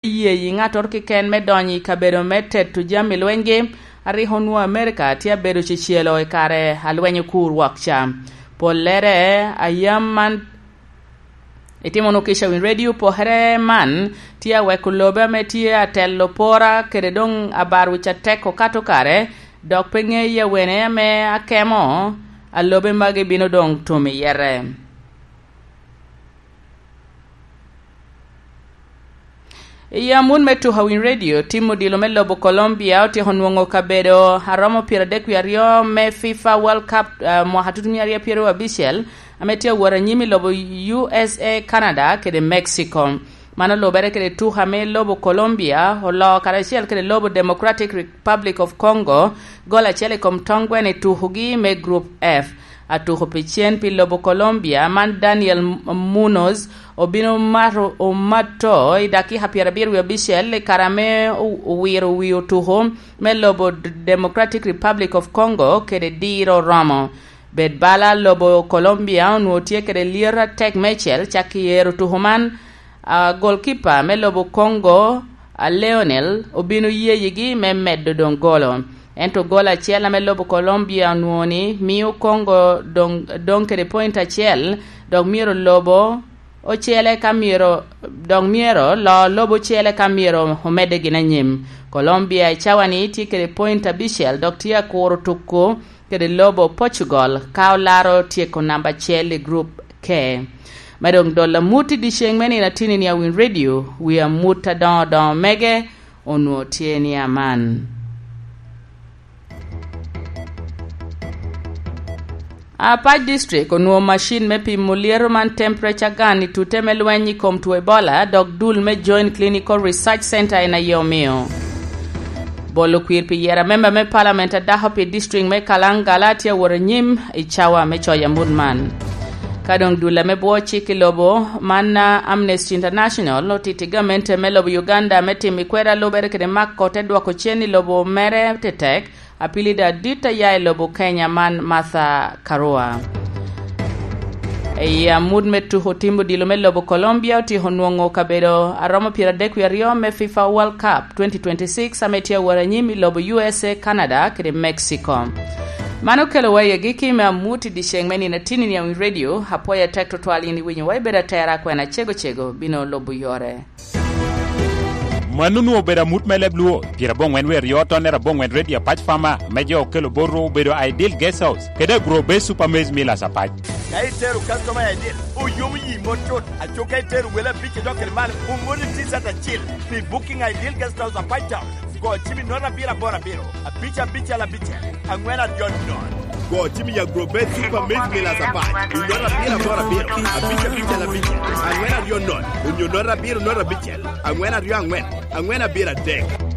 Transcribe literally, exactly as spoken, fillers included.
yeyi ŋattoro keken me donyo i kabedo me teto jami lwenygi, a rik onwoŋo Amerika tye abedo cecelo i kare a lweny okur wok ca. Pollere a yam man itimo wunu kica winy redio, pokere man tye aweko lobe ame tye atelo pora kede doŋ abar wic atek okato kare, dok pe ŋe i awene ame akemo a lobe magi bino doŋ tum i yere. I amut me tuko a winy redio, tim odilo me lobo Colombia otyeko nwoŋo kabedo a romo pyeradek wie aryo me fifa World Cup, ah, mwaka tutumia aryo pyeraryo abicel, ame tye awot anyim i lobo U S A, Canada kede Mexico. Man olubere kede tuko ame lobo Colombia oloo karacel kede lobo Democratic Republic of Congo, gol acel i kom tongwen i tukogi me Group F. Atuko pi cen pi lobo Colombia man, Daniel Munoz, obino mato, omato i dakika pyerabiro wie abicel i kare ame o-, owiro wi otuko me lobo D-, Democratic Republic of Congo kede diro oromo. Bed bala lobo Colombia onwoŋo tye kede lyet atek meicel cak i ero tuko man. A, golkipa me lobo Congo, a, Leonel, obino yeyigi me medo doŋ golo. Ento gol acel ame lobo Colombia onwoŋo ni mio Congo doŋ, doŋ kede point acel, dok myero lobo ocele ka myero, dok myero lo lobo ocele ka myero omedde gin anyim. Colombia i cawa-ni tye kede point abicel, dok tye akuro tuko kede lobo Portugal ka olaro tyeko namba acel i Group K. Me doŋ dolo amut i dyeceŋ me nino atini ni a winy redio, wi amut adoŋo doŋo mege onwoŋo tye ni aman. Apac District onwoŋo macin me pimo lyeto man temperature gun i tute me lweny i kom two Ebola, dok dul me Joint Clinical Research Center en aye omio. Bolo kwir pi yero amemba me Parliament a dako pi district me Kalangala tye awot anyim i cawa me coyo amut man. Ka doŋ dul ame bwo cik i lobo man, a, Amnesty International otiti gamente me lobo Uganda me timo i kweda lubere kede mako te dwoko cen i lobo mere tetek, apilida adit a ya i lobo Kenya man, Martha Karua. I amut me tuko tim odilo me lobo Colombia otyeko nwoŋo kabedo a romo pyeradek wie aryo me fifa World Cup twenty twenty-six ame tye awot anyim i lobo U S A, Canada kede Mexico. Man okelowa i agikki me amut i dyeceŋ me nino atini ni a winy redio. Apwoyo atek tutwal yin iwinyowa, ibedo atera, kwena cego cego bino lubo yore. Mano onwoŋo obedo amut me leb Luo, pyeraboŋwen wie aryo tonnere aboŋwen redio Apac Fama me jo okelo bot ru obedo Ideal Guest House kede Agro Base Super Maize Millers Apac. Ka itero customer Ideal, oyomo yi mot cut. Aco ka itero wele abic i dok kede malo, oŋodo i T-shirt acil. Pi booking Ideal Guest House Apac Town, go cim i note abiro aboro abiro, abic abicel abicel, aŋwen aryo nono. Go cim i Agro Base Super Maize Millers Apac i note abiro aboro abiro, abic abicel abicel, aŋwen aryo nono, onyo note abiro note abicel, aŋwen aryo aŋwen, aŋwen abiro adek.